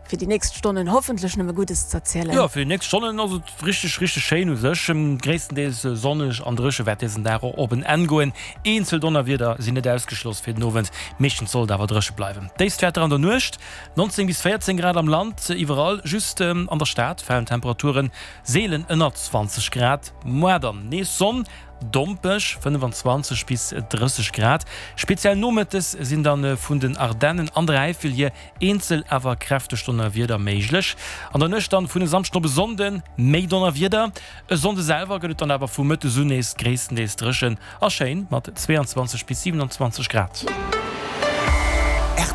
Fir déi nächst Stonnen hoffentlech nëmme Guddes z'erzielen. Jo, fir déi nächst Stonnen ass et richteg, richteg schéin u sech. Gréisstendeels sonneg an dréche wäert dësen Dag och op en Enn goen. Eenzel Donnerwieder sinn net ausgeschloss fir den Owend, meeschtens soll et awer dréche bleiwen. Déifstwäerter an der Nuecht, 19 bis 14 Grad am Land, iwwerall, just an der Stad falen d'Temperaturen seelen ënner 20 Grad. Moar dann nees Sonn, Dompeg, 25 bis 30 Grad. Speziell nomëttes sinn dann vun den Ardennen an der Äifel hier Eenzel awer kräfteg Donnerwieder méiglech. An der Nuecht dann vun e Samschden op e Sonnde méi Donnerwieder. E Sonnde selwer gëtt et dann awer vu mëttes un nees gréisstendeels dréchen a schéin mat 22 bis 27 Grad.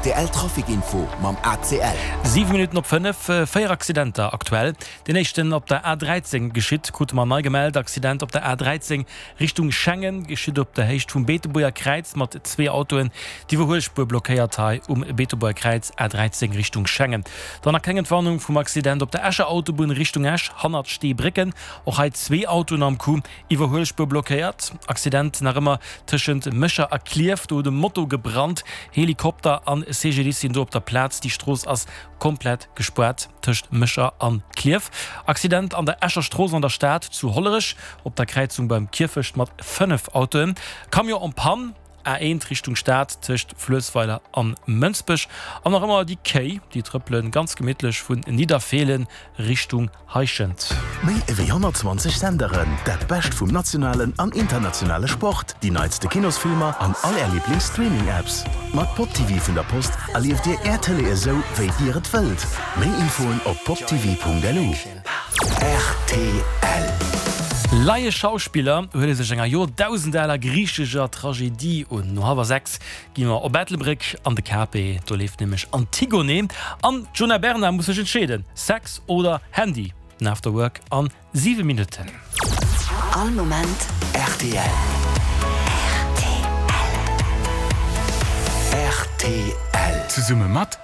Rtl Trafic Info mam ACL. 7 Minutten op 5, 4 Accidenter aktuell. Deen éischten op der A13 geschitt, krute mer nei gemellt. Accident op der A13 Richtung Schengen geschitt op der Héicht vum Beetebuerger Kräiz mat zwee Autoen. D'Iwwerhuelspuer blockéiert hei um Beetebuerger Kräiz, A13 Richtung Schengen. Dann nach keng Entwarnung vum Accident op der Escher Autobunn Richtung Esch, hannert Steebrécken. Och hei zwee Autoen am Coup, Iwwerhuelspuer blockéiert. Accident nach ëmmer tëschent Mécher a Klierf, do huet e Moto gebrannt. Helikopter an CGDIS sinn do op der Plaz. Déi Strooss ass komplett gespaart tëscht Mécher an Klierf. Accident an der Escher Strooss an der Stad zu Hollerech op der Kräizung beim Kierfecht mat 5 Autoen. Camion en panne, A1 Richtung Stad tëscht Fluessweiler an Mënsbech. An nach ëmmer déi Kéi, déi trëppelen ganz gemittlech vun Nidderfeelen Richtung Heischent. Méi ewéi 120 Senderen, dat Bescht vum nationalen an internationale Sport, déi neitste Kinosfilmer an all Är Liiblings-Streaming-Apps. Mat PopTV vun der Post erlieft Dir Är Tëlee esou, wéi Dir et wëllt. Méi Infoen op poptv.lu. Rtl. Laie Schauspiller huele sech enger joerdausendaaler griichescher Tragedie un. No hallwer 6 Gi mer op Ettelbréck an de KP, do leeft nämlech Antigone an d'Djuna Bernard muss sech entscheeden, Sex oder Handy? Den After Work an 7 Minutten. All Moment rtl. Rtl. Zesumme mat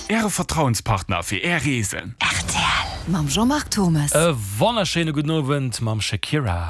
Äre Vertrauenspartner fir Är Reesen. Rtl mam Jean-Marc Thommes. E wonnerschéine gudden Owend mam Shakira.